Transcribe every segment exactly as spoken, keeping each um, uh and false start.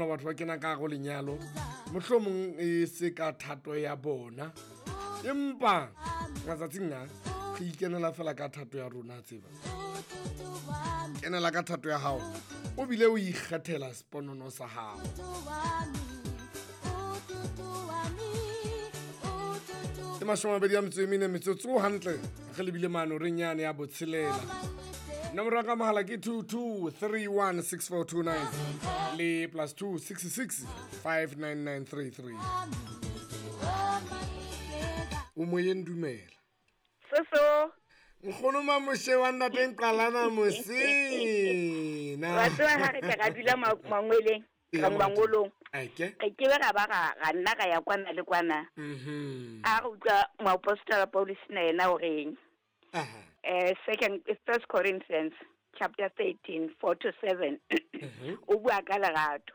batho ba kena ka go lenyalo mohlomong e se ka thato ya bona, empa matsatsing a re ikenela fela ka thato ya rona. Tseba kenela ka thato ya hao, o bile o ikgethela seponono sa hao. Ke mashome a mabedi a metso e mene metsotso hantle re lebile mano re nyane ya botshelela. Nomoro ya ka mohala ke two two three one six four two nine le plus two six six five nine nine three three. O moyeng, dumela. Soso. Nkgono Mamoshe wa ntateng Qalana Mosina. Wa tseba ha re tla dula mangweleng, ka mangolong. Ake. Re ke ra ba ra ra nna ra ya kwana le kwana. Mhm. A re utlwa moapostola Paulus na yena o reng. Aha. Eh second First Corinthians chapter thirteen four to seven. O bua ka lerato.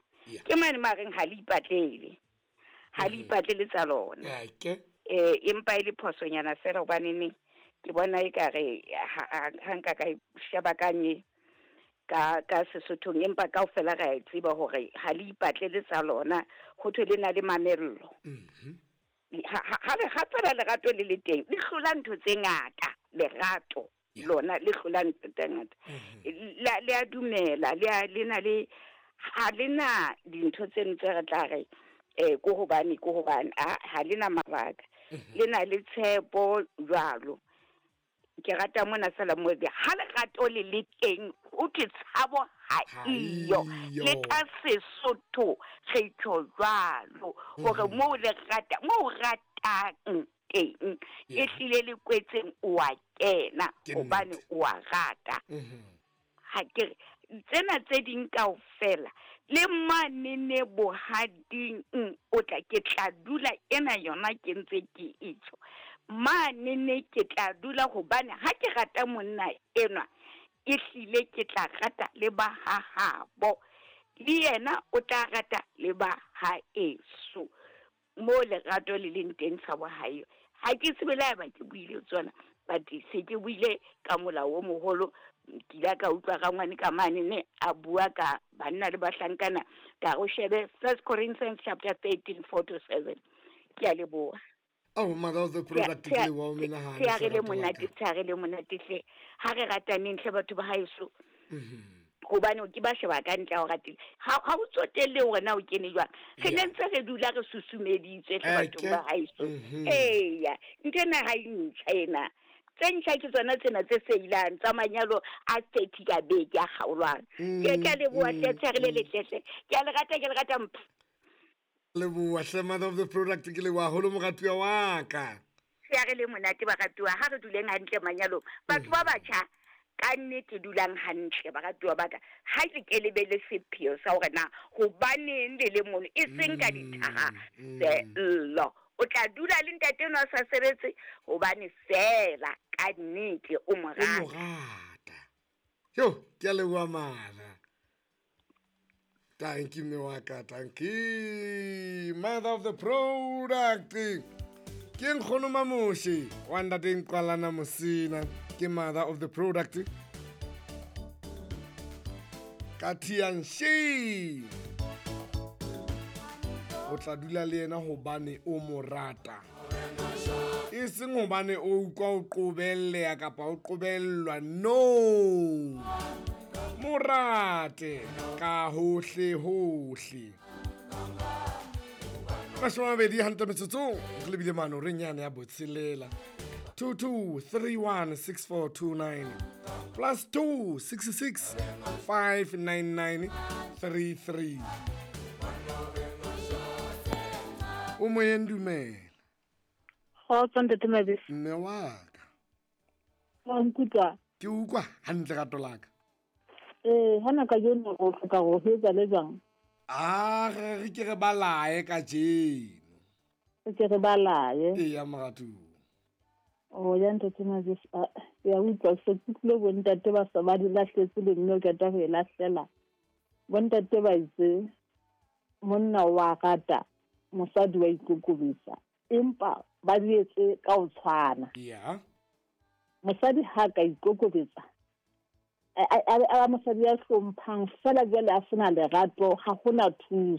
Ke mane mareng ha le ipatlele. Ha le ipatlele tsa lona. Ake. Eh empa ile phosonyana fela hobane ne ke bona e ka re ha nka ka sheba ka nye ka ka Sesothong, empa kaofela re a tseba hore ha le ipatlele tsa lona, ho thwe le na le mamello. Mhm. Ha ha le fela lerato le le teng, le hlola ntho tse ngata. Lerato lona le hlola ntho tse ngata. Le le a dumela, le a le na le ha le na dintho tseno tse re tla re eh ko hobane ko hobane ha le na mabaka, le na le tshepo jwalo. Ke rata mona fela mo be ha lerato le le teng, o ke tshabo ha iyo le ka Sesotho re tjho jwalo hore mo le rata mo ratang teng e hlile le kwetseng o a kena hobane o a rata. Ha ke tsena tse ding kaofela le mane ne bohading o tla ke tla dula ena yona ke ntse ke itjho mane ne ke tla dula hobane ha ke rata monna enwa e hlile ke tla rata le ba ha habo, le yena o tla rata le ba ha eso. Mo lerato le leng teng tshabo ha eyo. Ha ke tsebe le haeba ke buile tsona, but se ke buile ka molao o moholo. Ke ile ka utlwa rangwane ka mane ne a bua ka banna le bahlankana ka o shebe First Corinthians chapter thirteen four to seven. Ke a leboha. Oh, mother of the product ke wa o menahana. Ke a re le monate, ke a re le monate hle. Ha re rataneng hle batho ba haeso. Mhm. Hobane o ke ba sheba ka ntle ha o ratile. Ha ha o tsotelle hore na o kene jwang. Re ne ntse re dula re susumeditswe hle batho ba haeso. Eya, ntho ena ha e ntjha ena. Tse ntjha ke tsona tsena tse seilang tsa manyalo a thirty ka beke a kgaolwang. Ke ke a leboha hle, tshere le letle hle. Ke a le rata, ke le rata mpho. Leboha hle, mother of the product, ke leboha haholo moratuwa wa ka. Se a re le monate baratuwa, ha re duleng hantle manyalong. Batho ba batjha ka nnete dulang hantle baratuwa ba ka. Ha ke ke lebele sepheo sa hore na hobaneng le le mono e seng ka dithaha sello. O tla dula le ntate enwa a sa sebetse hobane fela ka nnete o mo rata. O mo rata. Yo, ke a leboha mara. Thank you, Mewaka. Thank you. Mother of the product. Ke nkgono Mamoshe wa ntateng Qalana Mosina. Ke mother of the product. Ka Tianshi. O tla dula le yena hobane o mo rata. E seng hobane o utlwa o qobelleha kapa o qobellwa. No. Morate ka hohle hohle. Mashome a mabedi hantle metsotsong re lebile mano re nyane ya botshelela. two two three one six four two nine plus two six six five nine nine three three. O moyeng, dumela. Kgotso ntate Mabese. Mme wa ka. Wa nkutlwa? Ke utlwa hantle rato la ka. Eh, hana ka jeno o hloka ho etsa le jwang? Ah, re ke re balae kajeno. Re ke re balae. Eya moratuwa. O ya ntate Mabese, ya utlwa se kutlwe bo ntate ba sa ba di lahletse le mme o qeta ho e lahlela. Bo ntate ba itse monna wa rata, mosadi wa ikokobetsa, empa ba di etse ka ho tshwana. Yeah. Mosadi ha ka ikokobetsa, a a mosadi ya hlomphang fela jwale a sena lerato, ha hona thuso.